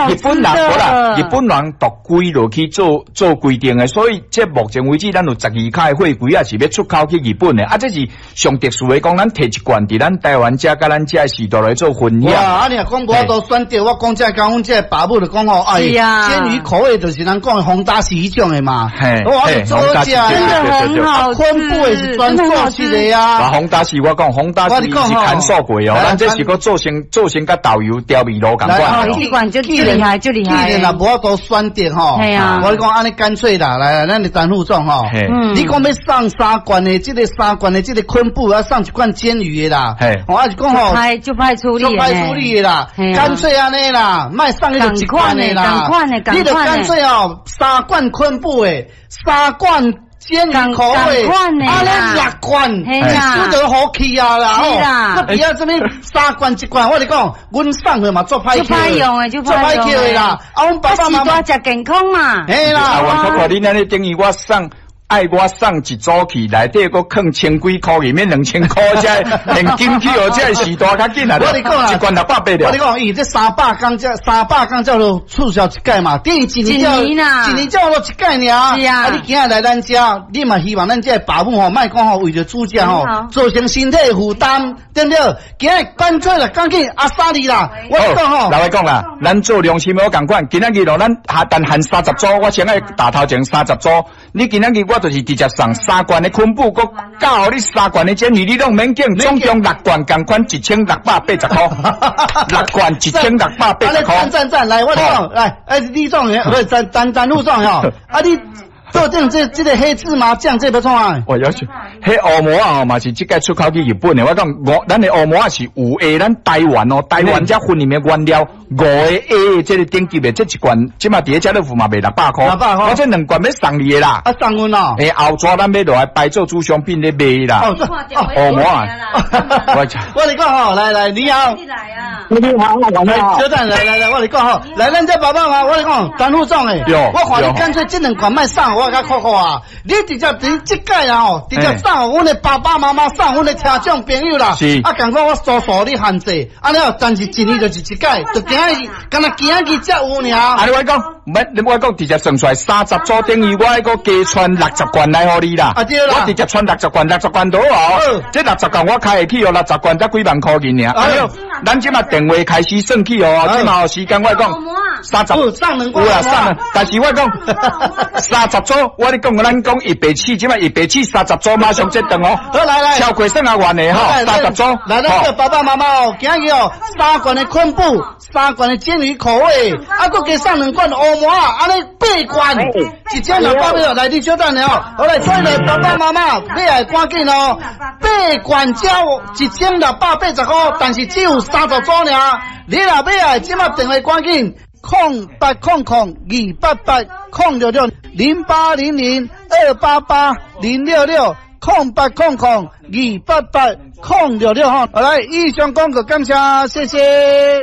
日本人無啦，日本人獨規落去做做規定的，所以這目前為止，咱有12卡的貨櫃仔是欲出口去日本的，啊，這是上特殊的，講咱提一罐佇咱台灣遮佮咱遮的時代來做分享。哇！啊，你若講無法度選擇，我講這講阮這爸母就講吼，哎，煎魚口味就是咱講的紅大是彼種的嘛。我做好食，真的很好吃，昆布的是專做出的啊。紅大是我講，紅大是是牽數過哦，咱這是閣做成做成佮豆油調味滷仝款。這罐就厲害，就厲害。既然若無法度選擇吼，我講按呢乾脆啦，來來，咱的陳副總吼，你講欲送三罐的這个三罐的這个昆布，啊送一罐煎魚的啦，我還是講吼，就歹處理，就歹處理的啦，乾脆按呢啦，莫送彼一罐的啦，你就乾脆哦，三罐昆布的，三罐煎魚口味，啊，咧六罐，一手就好去啊啦，吼，閣不要這物三罐一罐，我咧講，阮送的嘛足歹足歹用的，足歹捡的啦。啊，阮爸爸媽媽食健康嘛。嘿啦，啊，我看你按呢等於我送。愛我送一組去，內底閣囥千幾箍，裡面2000箍，才現金去哦，這時代較緊啊！我你講啦，一罐680了。我你講，伊這三百工才300工才做促銷一擺嘛，等於一年才一年才落一擺爾。是啊。啊，你今日來咱遮，你嘛希望咱這爸母吼，莫講吼為著煮食吼，造成身體負擔，對毋對？今日乾脆啦，趕緊阿薩你啦，我講吼。老來講啦，咱做良心的我仝款，今仔日咯，咱下但限三十組，我先愛打頭前三十組。你今仔日我就是直接送三罐的昆布，閣教予你三罐的煎魚，你攏免揀，總共六罐仝款1680箍，六罐1680箍。讚讚讚，來我講，來，哎，李總，不是陳陳陳副總吼，啊你。做這這這个黑芝麻醬，這欲創啥？我要求，彼烏毛仔吼嘛是這擺出口去日本的。我講五，咱的烏毛仔是5A，咱台灣哦，台灣遮訓練的原料5個 A 這个等級的，這一罐這馬佇咧家樂福嘛賣六百箍。600箍。我這兩罐欲送你的啦。啊，送阮哦。欸，後逝咱欲落來擺做主商品咧賣啦。哦，烏毛仔。我你講吼，來來，你好。你來啊。你好，我你好。小等，來來來，我你講吼，來咱這爸爸媽，我你講，陳副總的。我看你乾脆這兩罐莫送。我較酷酷啊！你直接佇這擺啊吼，直接送予阮的爸爸媽媽，送阮的親戚朋友啦。啊，仝款我數數你限制，按呢，但是一年就是一擺，就今日，敢若今日才有爾。啊，你我講，免，我講直接算出來三十組等於我愛閣加傳60罐來予你啦。啊對啦。我直接傳六十罐，六十罐倒哦。這六十罐我開會起哦，六十罐才幾萬箍銀爾。啊，咱這馬電話開始算起哦，這馬有時間我講三十，有啦，送兩，但是我講三十組，我咧講，咱講170，這馬170三十組馬上這頓哦。好來來，超過算阿遠的吼，三十組。來，咱這爸爸媽媽哦，今日哦，三罐的昆布，三罐的煎魚口味，啊，閣加送兩罐烏毛仔，按呢八罐，1600來，你稍等下哦。好來，所以來爸爸媽媽，欲愛趕緊哦，八罐才1680箍，但是只有三十組爾。你若欲愛，這馬電話趕緊。0800 288 0660800 288 0660800 288 066吼，好來，以上廣告感謝，謝謝。